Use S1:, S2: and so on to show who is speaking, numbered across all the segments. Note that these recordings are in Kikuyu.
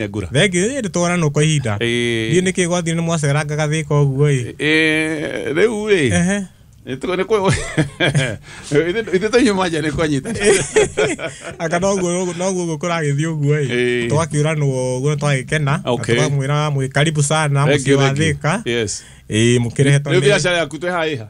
S1: Ngura.
S2: Thengiũ, ĩĩ, nĩtwonanwo kwa ihinda.
S1: Ĩĩ.
S2: Ndiũĩ nĩkĩ gwathire nĩ mwacerangaga Thĩka ũguo ĩ.
S1: Ĩĩ, rĩu rĩ ithuĩ tũnyuma nja nĩ kwanyita.
S2: Anga noguo ũguo kũragĩthiĩ ũguo ĩ.
S1: Ĩĩ.
S2: Twakĩũranwo ũguo twagĩkena na tũkamwĩra mwĩ karibu sana
S1: Thank
S2: mũciĩ
S1: you,
S2: wa
S1: thank you.
S2: Thĩka.
S1: Yes.
S2: Ĩĩ, mũkĩrehetwo
S1: Rĩu
S2: nĩ
S1: biacara yaku twĩ haha ĩha?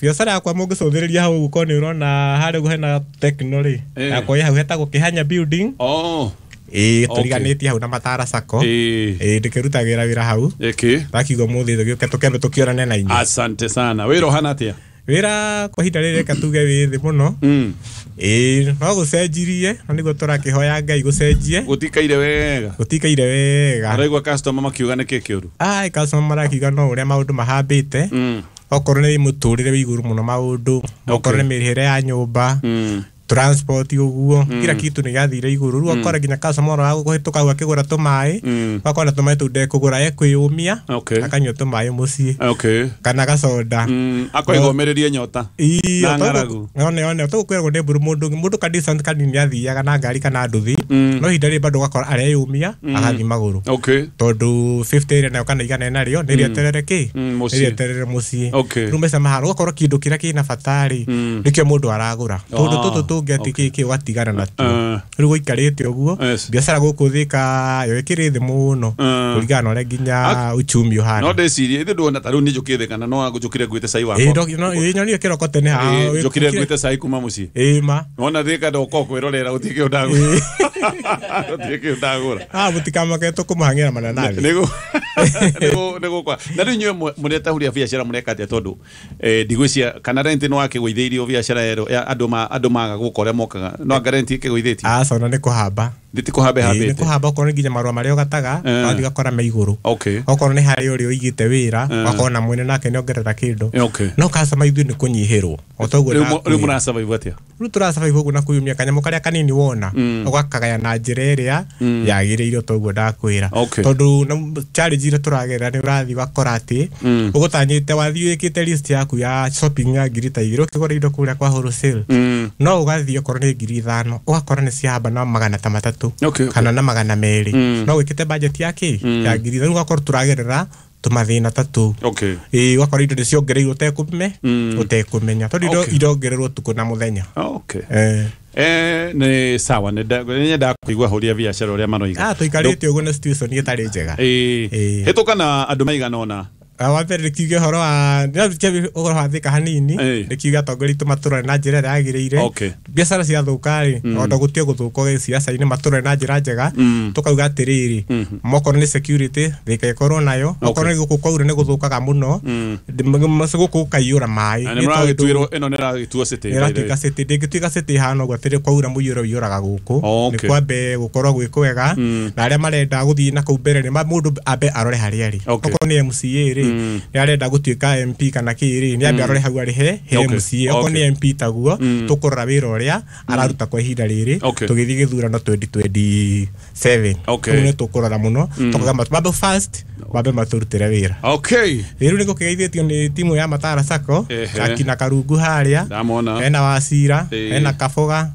S2: Biacara yakwa mũngĩcũthĩrĩria hau ũguo korwo nĩ ũrona harĩa ũguo hena Tecno rĩ, yakwa ĩ hau hetagwo Kĩhanya building.
S1: Oh.
S2: Ĩĩ, tũriganĩtie hau na Matara Sacco. Ĩĩ, ndĩkĩrutagĩra wĩra hau.
S1: Ĩkĩ.
S2: Ndakiuga ũmũthĩ tũgĩũke tũkĩambe tũkĩonane na inyuĩ.
S1: Asante sana. Wĩra ũhana atĩa?
S2: Wĩra kwa ihinda rĩrĩ reke tuge wĩ thĩ mũno. Ĩĩ, no gũcenjirie na nĩguo tũrakĩhoya Ngai gũcenjie.
S1: Gũtikaire wega.
S2: Gũtikaire wega.
S1: Ũraigua customer makiuga nĩkĩ kĩũru?
S2: Ai, customer marakiuga no ũrĩa maũndũ mahambĩte. Okorwo nĩ mũtũrĩre wĩ igũrũ mũno maũndũ, okorwo nĩ mĩrĩhĩre ya nyũmba, transport ũguo, kila kitu nĩ gĩathire igũrũ. Rĩu ũgakora nginya customer ona wagũkũhĩtũka hau akĩgũra tũmaĩ, ũgakora tũmaĩ tũu ndekũgũra, ekwĩyũmia, akanyua tũmaĩ mũciĩ. Kana gacoda.
S1: Akoiga ũmĩrĩrie nyota.
S2: Ii,
S1: Na ng'aragu.
S2: One one tũgũkwĩragwo nĩ mburu mũndũ mũndũ ka distance kanini athiaga na ngari kana nduthi, no ihinda rĩrĩ bado ũgakora areyũmia agathiĩ magũrũ. Tondũ 50 ĩrĩa nayo kana igana ĩnarĩo nĩ rĩeterere kĩ?
S1: Mũciĩ.
S2: Nĩ rĩeterere mũciĩ. Rĩu mbeca mahana ũgakorwo kĩndũ kĩrĩa kĩna bata rĩ, nĩkĩo mũndũ aragũra. Tũndũ tũtũ tũngĩ atĩ kĩ kĩ ũgatigana natuo. Rĩu gũikarĩte ũguo, biacara gũkũ Thĩka yo ĩkĩrĩ thĩ mũno kũringana na ũrĩa nginya uchumi ũhana.
S1: No ndĩcirie ithuĩ ndũona ta rĩu niĩ njũkĩte kana no njũkire nguĩte cai wakwa.
S2: Ĩĩ, ĩĩ, nyonire kĩroko tene haha.
S1: Ĩĩ, njũkire nguĩte cai kuma mũciĩ.
S2: Ĩĩ ma.
S1: Wona Thĩka ndoka kwĩrorera gũtirĩ kĩndũ ndagũra. Gũtirĩ kĩndũ ndagũra.
S2: Ah, mũtikamake tũkũmũhang'ĩra mananathi.
S1: Nĩguo nĩguo na rĩu inyuĩ mũretahuria biacara mũreka atĩa tondũ ndigwĩcia kana rent nĩ wakĩgũithĩirio biacara ĩyo ya andũ ma andũ maga gũka ũrĩa mokaga no anga rent ĩkĩgũithĩtio?
S2: Aca, ona nĩ kũhamba.
S1: Nĩ ti kũhamba
S2: Ĩĩ, nĩ
S1: ĩhambĩte.
S2: kũhamba, okorwo nĩ nginya marũa marĩa ũgataga, ũgathiĩ ũgakora me igũrũ. Okorwo nĩ harĩ ũrĩa ũigĩte wĩra, ũgakora na mwene nake nĩ ongerera kĩndũ. No customer ithuĩ nĩ kũnyihĩrwo. O ta ũguo
S1: Rĩu
S2: ndakwĩra.
S1: rĩu mũra survive atĩa?
S2: Rĩu tũra survive ũguo na kwĩyumia kanyamũ karĩa kanini wona, ũgakagaya na njĩra ĩrĩa yagĩrĩire o ta ũguo ndakwĩra. Tondũ na challenge iria tũragerera nĩ ũrathiĩ ũgakora atĩ, ũgũtanyĩte wathiĩ wĩkĩte list yaku ya shopping ya ngiri ta igĩrĩ ũkĩgũra indo kũrĩa kwa wholesale. No ũgathiĩ okorwo nĩ 5,000, ũgakora nĩ ciahamba na magana ta matatũ kana na magana merĩ. No wĩkĩte budget ya kĩ? Ya 5,000. Rĩu ũgakorwo tũragerera tũmathĩna ta tũu. Ĩĩ, ũgakora indo nĩ ciongereirwo ũtekũmenya tondũ indo irongererwo ũtukũ na mũthenya.
S1: Nĩ sawa, nĩ nyendaga kũigua ahũri a biacara ũrĩa maroiga.
S2: Ah, tũikarĩte ũguo na situation ĩtarĩ njega.
S1: Ĩĩ. Hĩtũka na andũ maigana ũna.
S2: Wa mbere nĩ kiuge ũhoro wa ndĩrarutia ũhoro wa Thĩka hanini, nĩ kiuge atongoria aitũ matũrore na njĩra ĩrĩa yagĩrĩire. Biacara ciathũka rĩ, ona gũtige gũthũka ciaca-inĩ matũrore na njĩra njega, tũkauga atĩrĩrĩ, mokorwo nĩ security Thĩka ĩkorwo nayo, okorwo nĩ gũkũ kwaura nĩ gũthũkaga mũno, gũkũ gũkaiyũra maĩ.
S1: Na nĩ mũragĩtuĩrwo ĩno nĩ ĩragĩtuo city,
S2: Nĩ ĩratuĩka city, ndĩngĩtuĩka city ĩhana ũguo atĩrĩ kwaura mũiyũro ũiyũraga gũkũ. Nĩ kwambe gũkorwo gwĩ kwega, na arĩa marenda gũthiĩ na kũu mbere nĩ mũndũ ambe arore harĩa arĩ. Okorwo nĩ MCA rĩ, nĩ arenda gũtuĩka MP kana kĩ rĩ, nĩ ambe arore hau arĩ he MCA. Okorwo nĩ MP taguo, tũkũrora wĩra ũrĩa araruta kwa ihinda rĩrĩ, tũgĩthiĩ gĩthurano 2027. Rĩu nĩ tũkũrora mũno, tũkauga mambe first, mambe matũrutĩre wĩra. Rĩu nĩ gũkĩgeithĩtio nĩ timu ya Matara Sacco, akina Karungu harĩa,
S1: Ndamona.
S2: hena Wacira, hena Kaboga,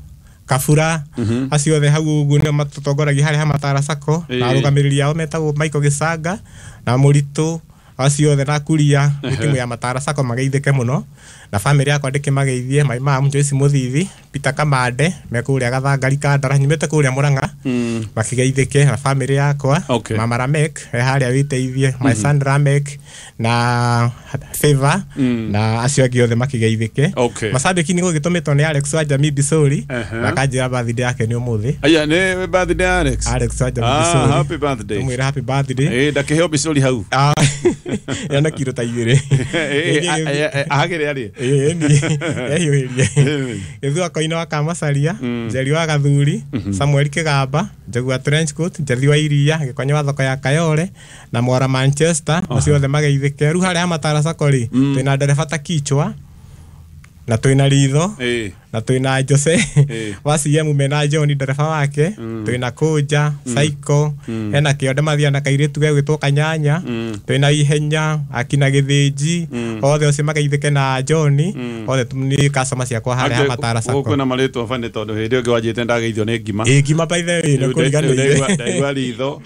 S2: Kabura, acio othe hau ũguo nĩo matũtongoragia harĩa ha Matara Sacco, na arũgamĩrĩri ao metagwo Michael Gĩcanga na Mũritũ, acio othe na Kuria, nĩ timu ya Matara Sacco mageithĩke mũno, na famĩlĩ yakwa ndĩkĩmageithie, my mom Joyce Mũthithi, Peter Kamande, me kũrĩa Gathangari Kandara, nyumĩte kũrĩa Mũrang'a, makĩgeithĩke na famĩlĩ yakwa, Mama Ramek, e harĩa wĩteithie, my son Ramek, na Favor, na acio angĩ othe makĩgeithĩke. Macambĩki nĩ gũgĩtũmĩtwo nĩ Alex wa Jamii Bisori, na akanjĩra birthday yake nĩ ũmũthĩ.
S1: Aya, nĩ birthday ya Alex.
S2: Alex wa Jamii Bisori.
S1: Happy birthday.
S2: Tũmwĩre happy birthday.
S1: Ĩĩ, ndakĩheo Bisori hau.
S2: Ena kiro ta igĩrĩ.
S1: Ahagĩre arĩe.
S2: Ĩĩ, ni. Ehiũhĩrie. Gĩthua Koine wa Kamacaria, Njeri wa Gathuri, Samuel Kĩgamba, Njogu wa Trenchcoat, Njathi wa Iria, Gĩkonyo wa thoko ya Kayole, na Mwara Manchester, acio othe mageithĩke. Rĩu harĩa ha Matara Sacco rĩ, twĩna ndereba ta Kichwa, Na twina Ritho, na twina Jose wa CM mena John ndereba wake, twina Kũnja Saiko, hena Kĩonde mathia na kairĩtu gegwĩtwo Kanyanya, twina Ihenya akina Gĩthĩnji, othe ũcio mageithĩke na John, othe nĩ customer ciakwa harĩa ha Matara Sacco.
S1: Kwĩna marĩtwa bani, tondũ hĩndĩ ĩyo ĩngĩ wanjĩte ndageithio nĩ ngima.
S2: Ĩ, ngima, by the way, nĩ kũriganĩire.
S1: Ndaigua Ritho.